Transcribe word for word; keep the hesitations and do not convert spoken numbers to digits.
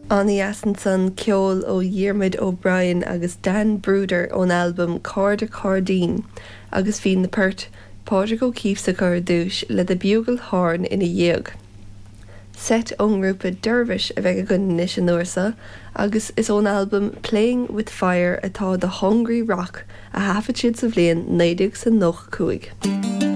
An-dheas ansan ceol ó Dhiarmuid O'Brien agus Dan Brouder ón albam Cairde Cairdín agus bhí na poirt Pádraig O'Keeffe sa chur dúis le The Bugle Horn ina dhiaidh. Seit ón ngrúpa Dervish a bheidh againn anois an uair seo agus is ón albam Playing with Fire atá The Hungry Rock a thaifead siad sa bhliain naoi déag is nócha cúig.